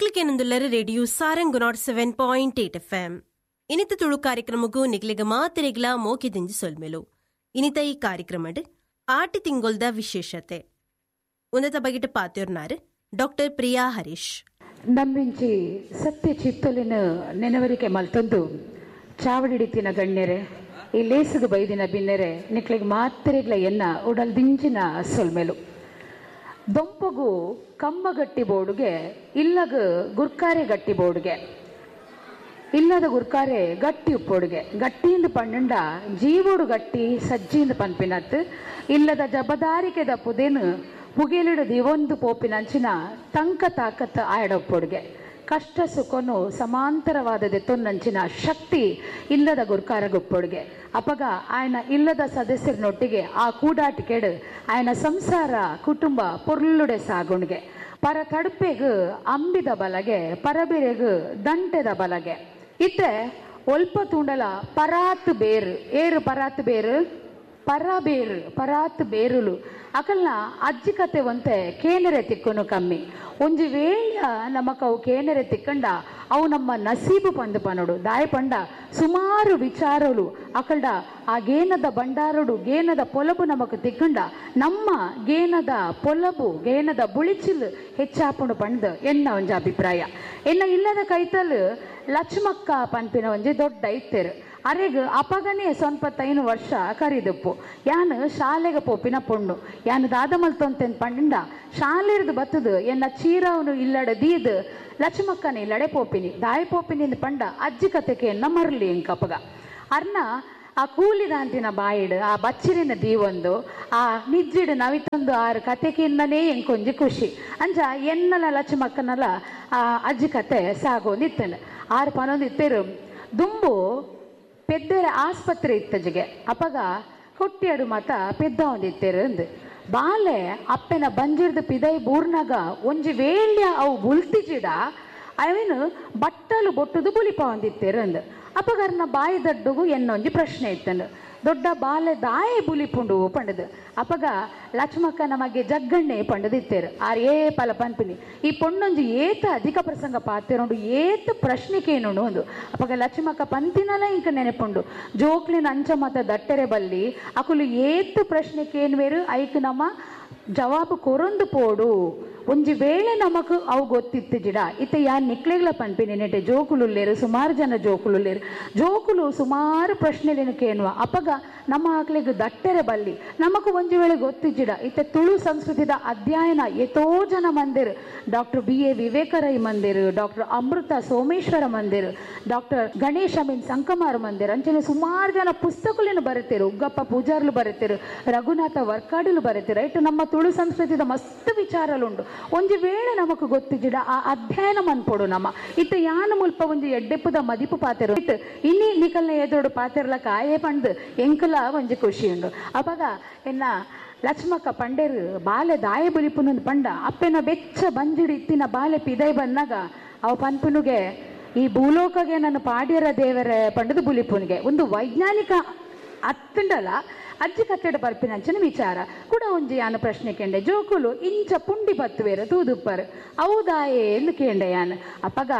ನಿಕ್ಲಿಕೇನೊಂದುಲ್ಲರ radio Sarang 107.8 FM. ಇನಿತ ತುಳು ಕಾರ್ಯಕ್ರಮಕ್ಕೂ ನಿಕ್ಲಿಗ ಮಾತೆರೆಗ್ಲ ಮೋಕೆದಿಂಜಿ ಸೊಲ್ಮೆಲು. ಇನಿತ ಈ ಕಾರ್ಯಕ್ರಮಡ್ ಆಟಿ ತಿಂಗೊಲ್ದ ವಿಶೇಷತೆ ಉನ್ನತ ಬಗೆಟ ಪಾತ್ಯೋರ್ನಾರು ಡಾಕ್ಟರ್ ಪ್ರಿಯಾ ಹರೀಶ್. ನಮ್ಮಿಂಚಿ ಸತ್ಯ ಚಿತ್ತಲಿನ ನೆನವರಿಕೆ ಮಲ್ತೊಂದು ಚಾವಡಿಡಿತಿನ ಗಣ್ಯರೆ, ಈ ಲೇಸುಗು ಬೈದಿನ ಬಿನ್ನೆರೆ, ನಿಕ್ಲಿಗೆ ಮಾತ್ರೆಗ್ಲ ಎನ್ನ ಉಡಲ್ ದಿಂಜಿನ ಸೊಲ್ಮೆಲು. ದೊಂಪಗು ಕಮ್ಮಗಟ್ಟಿ ಬೋರ್ಡುಗೆ, ಇಲ್ಲಗ ಗುರ್ಕಾರೆ ಗಟ್ಟಿ ಬೋರ್ಡುಗೆ, ಇಲ್ಲದ ಗುರ್ಕಾರೆ ಗಟ್ಟಿ ಉಪ್ಪೋಡುಗೆ, ಗಟ್ಟಿಯಿಂದ ಪಣ್ಣುಂಡ ಜೀವೋಡು ಗಟ್ಟಿ ಸಜ್ಜಿಯಿಂದ ಪನ್ಪಿನತ್ತು, ಇಲ್ಲದ ಜಬದಾರಿಕೆದ ಪುದೇನು ಪುಗೆಲಿಡು ದಿವೊಂದು ಪೋಪಿನಂಚಿನ ತಂಕ ತಾಕತ್ ಆಯಡೊಪ್ಪೊಡುಗೆ, ಕಷ್ಟ ಸುಖನು ಸಮಾಂತರವಾದ ತೊನ್ನಂಚಿನ ಶಕ್ತಿ ಇಲ್ಲದ ಗುರ್ಕಾರ ಗುಪ್ಪೊಡುಗೆ. ಅಪಗ ಆಯನ ಇಲ್ಲದ ಸದಸ್ಯರನೊಟ್ಟಿಗೆ ಆ ಕೂಡಾಟಿಕೆಡು ಆಯನ ಸಂಸಾರ ಕುಟುಂಬ ಪೊರ್ಲುಡೆ ಸಾಗುಣ್ಗೆ. ಪರ ತಡುಪೆಗು ಅಂಬಿದ ಬಲಗೆ, ಪರಬಿರೆಗು ದಂಟೆದ ಬಲಗೆ. ಇತ್ತೆ ಒಲ್ಪ ತೂಂಡಲ ಪರಾತ್ ಬೇರು, ಏರು ಪರಾತ್ ಬೇರು, ಪರಬೇರು ಪರಾತ್ ಬೇರುಲು ಅಕಲ್ನ ಅಜ್ಜಿ ಕತೆ ಒಂತೆ ಕೇನರೆ ತಿಕ್ಕನು ಕಮ್ಮಿ. ಒಂಜಿ ವೇಳ್ಯ ನಮಕ್ ಅವು ಕೇನರೆ ತಿಕ್ಕಂಡ ಅವು ನಮ್ಮ ನಸೀಬು ಪಂದು ಪನೋಡು. ದಾಯ ಪಂಡ ಸುಮಾರು ವಿಚಾರಲು ಅಕಲ್ಡ ಆ ಗೇನದ ಬಂಡಾರುಡು ಗೇನದ ಪೊಲಬು ನಮಕ್ ತಿಕ್ಕಂಡ ನಮ್ಮ ಗೇನದ ಪೊಲಬು ಗೇನದ ಬುಳಿಚಿಲ್ ಹೆಚ್ಚಾಪುಂಡು ಪಂಡ್ ಎನ್ನ ಒಂಜಿ ಅಭಿಪ್ರಾಯ. ಎನ್ನ ಇಲ್ಲದ ಕೈತಲ್ ಲಕ್ಷ್ಮಕ್ಕ ಪನ್ಪಿನ ಒಂಜಿ ದೊಡ್ಡ ಇತ್ತೆರು. ಅರೆಗ್ ಅಪಗನೇ 95 ವರ್ಷ ಕರಿದಪ್ಪು. ಯಾನು ಶಾಲೆಗೆ ಪೋಪಿನ ಪೊಣ್ಣು, ಯಾನು ದಾದ ಮಲ್ತೊಂತೆನ್ ಪಂಡ ಶಾಲೆರ್ದು ಬತ್ತದು ಎನ್ನ ಚೀರವನು ಇಲ್ಲಡೆ ದೀದ್ ಲಕ್ಷ್ಮಕ್ಕನ ಇಲ್ಲಡೆ ಪೋಪಿನಿ. ದಾಯ ಪೋಪಿನಿ ಪಂಡ ಅಜ್ಜಿ ಕತೆಗೆ ಎನ್ನ ಮರಲಿ ಎಂಕಪಗ. ಅರ್ನ ಆ ಕೂಲಿದಾಂತಿನ ಬಾಯಿಡು ಆ ಬಚ್ಚಿರಿನ ದೀವೊಂದು ಆ ನಿಜ್ಜಿಡು ನವಿತೊಂದು ಆರು ಕತೆಕಿಂದನೇ ಎಂಕೊಂಜಿ ಖುಷಿ. ಅಂಚ ಎನ್ನಲ ಲಕ್ಷ್ಮಕ್ಕನಲ ಆ ಅಜ್ಜಿ ಕತೆ ಸಾಗೊಂದಿತ್ತೇನೆ. ಆರು ಪನೊಂದು ಇತ್ತೇರು ದುಂಬು ಪೆದ್ದರ ಆಸ್ಪತ್ರೆ ಇತ್ತಜಿಗೆ ಅಪಗ ಹುಟ್ಟಿಯಡು ಮಾತ ಪೆದ್ದ ಒಂದಿತ್ತೇರು ಅಂದು. ಬಾಲೆ ಅಪ್ಪೆನ ಬಂಜಿರ್ದು ಪಿದೈ ಬೂರ್ನಾಗ ಒಂಜಿ ವೇಳ್ಯ ಅವು ಬುಲ್ತಿಜಿಡ ಅವೇನು ಬಟ್ಟಲು ಬೊಟ್ಟುದು ಬುಲಿಪ ಒಂದಿತ್ತೇರು ಅಂದು. ಅಪಗರ್ನ ಬಾಯಿ ದಡ್ಡುಗು ಎನ್ನೊಂಜಿ ಪ್ರಶ್ನೆ ಇತ್ತಂದು, ದೊಡ್ಡ ಬಾಲೆ ದಾಯೆ ಬುಲಿಪುಂಡು ಪಂಡದು. ಅಪಗ ಲಕ್ಷ್ಮಕ್ಕ ನಮಗೆ ಜಗ್ಗಣ್ಣೆ ಪಂಡದಿತ್ತೇರು. ಆರ್ ಏ ಪಲ ಪನ್ಪಿನಿ ಈ ಪೊಣ್ಣೊಂಜಿ ಏತ ಅಧಿಕ ಪ್ರಸಂಗ ಪಾತಿರೋಂಡು ಏತ ಪ್ರಶ್ನೆಕೇನುಂಡು ಒಂದು. ಅಪಗ ಲಕ್ಷ್ಮಕ್ಕ ಪಂತಿನಲ ಇಂಕ ನೆನಪುಂಡು ಜೋಕ್ಲಿನ ಅಂಚ ಮತ ದಟ್ಟೆರೆ ಬಲ್ಲಿ ಅಕುಲು ಏತ ಪ್ರಶ್ನೆಕೇನ್ವೇರು ಐಕ್ ನಮ್ಮ ಜವಾಬು ಕೊರೊಂದು ಪೋಡು. ಒಂಜಿ ವೇಳೆ ನಮಕ್ ಅವು ಗೊತ್ತಿತ್ತು ಜಿಡ. ಇತ್ತೆ ಯಾನ್ ನಿಕ್ಲೆಗ್ಲ ಪನ್ಪಿನಿ ನೆಟೆ ಜೋಕುಲುಲ್ಲೇರು, ಸುಮಾರು ಜನ ಜೋಕುಲುಲ್ಲೇರು, ಜೋಕುಲು ಸುಮಾರು ಪ್ರಶ್ನೆಲೇನು ಕೇನುವ. ಅಪಗ ನಮ್ಮ ಆಕ್ಲೆಗ್ ದಟ್ಟೆರೆ ಬಲ್ಲಿ ನಮಕ್ ಒಂಜಿ ವೇಳೆ ಗೊತ್ತಿಜ್ಜಿಡ. ಇತ್ತೆ ತುಳು ಸಂಸ್ಕೃತಿದ ಅಧ್ಯಯನ ಎತೋ ಜನ ಮಂದಿರು, ಡಾಕ್ಟರ್ ಬಿ.ಎ. ವಿವೇಕ ರೈ ಮಂದಿರು, ಡಾಕ್ಟರ್ ಅಮೃತ ಸೋಮೇಶ್ವರ ಮಂದಿರು, ಡಾಕ್ಟರ್ ಗಣೇಶ್ ಅಮೀನ್ ಸಂಕಮಾರ್ ಮಂದಿರ್, ಅಂಚನೆ ಸುಮಾರು ಜನ ಪುಸ್ತಕಗಳನ್ನು ಬರೀತಿರು, ಉಗ್ಗಪ್ಪ ಪೂಜಾರ್ಲು ಬರೀತಿರು, ರಘುನಾಥ ವರ್ಕಾಡಿಲು ಬರೀತಿರು. ರೈಟ್, ನಮ್ಮ ತುಳು ಸಂಸ್ಕೃತಿದ ಮಸ್ತ್ ವಿಚಾರಲುಂಡು. ಒಂಜಿ ವೇಳೆ ನಮಕ್ ಗೊತ್ತಿಜ್ಜಿಡ ಆ ಅಧ್ಯಯನ ಮನ್ಪೊಡು ನಮ್ಮ. ಇತ್ತೆ ಯಾನು ಮುಲ್ಪ ಒಂಜಿ ಎಡ್ಡೆಪ್ಪುದ ಮದಿಪು ಪಾತೆರು ಇತ್ತು ಇನ್ನಿ ನಿಕಲ್ನ ಎದುರುಡು ಪಾತೆರ್ಲಕ ಆಯೇ ಪಂಡ್ ಎಂಕಲ ಒಂಜಿ ಖುಷಿ ಉಂಡು. ಅಪಗ ಎನ್ನ ಲಕ್ಷ್ಮಕ್ಕ ಪಂಡೇರು ಬಾಲೆ ದಾಯ ಬುಲಿಪುನೊಂದು ಪಂಡ ಅಪ್ಪೆನ ಬೆಚ್ಚ ಬಂಜಿಡು ಇತ್ತಿನ ಬಾಲೆ ಪಿದೈ ಬಂದಾಗ ಅವ ಪನ್ಪುನುಗೆ ಈ ಭೂಲೋಕಗೆ ನಾನು ಪಾಡ್ಯರ ದೇವರ ಪಂಡದು ಬುಲಿಪುನಿಗೆ ಒಂದು ವೈಜ್ಞಾನಿಕ ಅತ್ತಂಡಲ ಅಜ್ಜಿ ಕತ್ತೆಡ ಬರ್ಪಿನಂಚಿನ ವಿಚಾರ ಕೂಡ ಒಂಜಿ ಯಾನು ಪ್ರಶ್ನೆ ಕೇಂಡೆ. ಜೋಕುಲು ಇಂಚ ಪುಂಡಿ ಬತ್ತುವೇರು ತೂದುಪ್ಪರು ಹೌದಾಯೇ ಎಂದು ಕೇಂಡೆ ಯಾನು. ಅಪಗ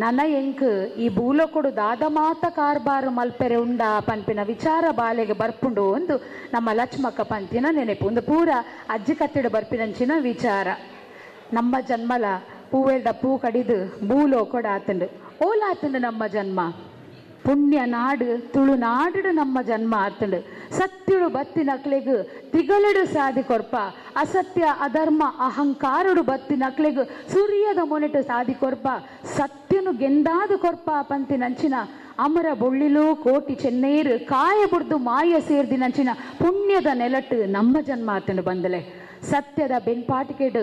ನನ್ನ ಎಂಕ್ ಈ ಭೂಲೋಕಡು ದಾದ ಮಾತ ಕಾರ್ಬಾರು ಮಲ್ಪೆರೆ ಉಂಡ ಪನ್ಪಿನ ವಿಚಾರ ಬಾಲೆಗೆ ಬರ್ಪುಂಡು ಒಂದು ನಮ್ಮ ಲಕ್ಷ್ಮಕ್ಕ ಪಂತಿನ ನೆನಪು. ಒಂದು ಪೂರ ಅಜ್ಜಿ ಕತ್ತೆಡ ಬರ್ಪಿನಂಚಿನ ವಿಚಾರ. ನಮ್ಮ ಜನ್ಮಲ ಪೂವೆಲ್ದ ಪೂ ಕಡಿದು ಭೂಲೋಕಡ ಆತಂಡು ಓಲಾತಂಡು ನಮ್ಮ ಜನ್ಮ ಪುಣ್ಯ ನಾಡು ತುಳುನಾಡು ನಮ್ಮ ಜನ್ಮ ಆತಂಡು. ಸತ್ಯುಡು ಬತ್ತಿನಕ್ಲೆಗ್ ತಿಗಲಡು ಸಾದಿ ಕೊರ್ಪ, ಅಸತ್ಯ ಅಧರ್ಮ ಅಹಂಕಾರುಡು ಬತ್ತಿನಕ್ಲೆಗ್ ಸೂರ್ಯದ ಮೊನೆಟು ಸಾದಿ ಕೊರ್ಪ, ಸತ್ಯನು ಗೆಂದಾದು ಕೊರ್ಪ ಪಂತಿನಂಚಿನ ಅಮರ ಬೊಳ್ಳಿಲು ಕೋಟಿ ಚೆನ್ನೇರು ಕಾಯ ಬುಡ್ದು ಮಾಯ ಸೇರ್ದಿನಂಚಿನ ಪುಣ್ಯದ ನೆಲಟ್ಟು ನಮ್ಮ ಜನ್ಮ ಆತಂಡು ಬಂದಲೆ. ಸತ್ಯದ ಬೆನ್ಪಾಟಿಕೆಡು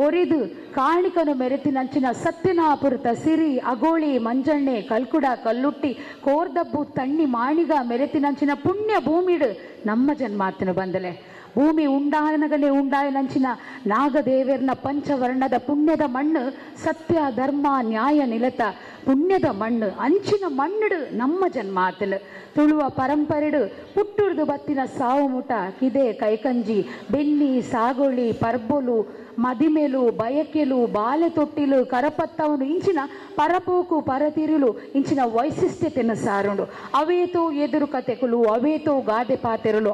ಒರಿದು ಕಾಣಿಕನು ಮೆರೆತಿನಂಚಿನ ಸತ್ಯನಾಪುರತ ಸಿರಿ ಅಗೋಳಿ ಮಂಜಣ್ಣೆ ಕಲ್ಕುಡ ಕಲ್ಲುಟ್ಟಿ ಕೋರ್ದಬ್ಬು ತಣ್ಣಿ ಮಾಣಿಗ ಮೆರೆತಿನಂಚಿನ ಪುಣ್ಯ ಭೂಮಿಡು ನಮ್ಮ ಜನ್ಮಾತನು ಬಂದಲೆ. ಭೂಮಿ ಉಂಡಾನಗನೆ ಉಂಡಾಯನಂಚಿನ ನಾಗದೇವೆರ್ನ ಪಂಚವರ್ಣದ ಪುಣ್ಯದ ಮಣ್ಣು, ಸತ್ಯ ಧರ್ಮ ನ್ಯಾಯ ನಿಲತ ಪುಣ್ಯದ ಮಣ್ಣು. ಅಂಚಿನ ಮಣ್ಣುಡು ನಮ್ಮ ಜನ್ಮ ಆತನು. ತುಳುವ ಪರಂಪರೆಡು ಪುಟ್ಟುರ್ದು ಬತ್ತಿನ ಸಾವು ಮುಟ ಕಿದೆ ಕೈಕಂಜಿ ಬೆನ್ನಿ ಸಾಗೋಳಿ ಪರ್ಬೊಲು ಮದಿಮೆಲು ಬಯಕೆಲು ಬಾಲೆ ತೊಟ್ಟಿಲು ಕರಪತ್ತವನು ಇಂಚಿನ ಪರಪೋಕು ಪರತಿರುಲು ಇಂಚಿನ ವೈಶಿಷ್ಟ್ಯತೆಯನ್ನು ಸಾರುಂಡು. ಅವೇತೋ ಎದುರು ಕತೆಕುಲು, ಅವೇತೋ ಗಾದೆ ಪಾತೆರಲು.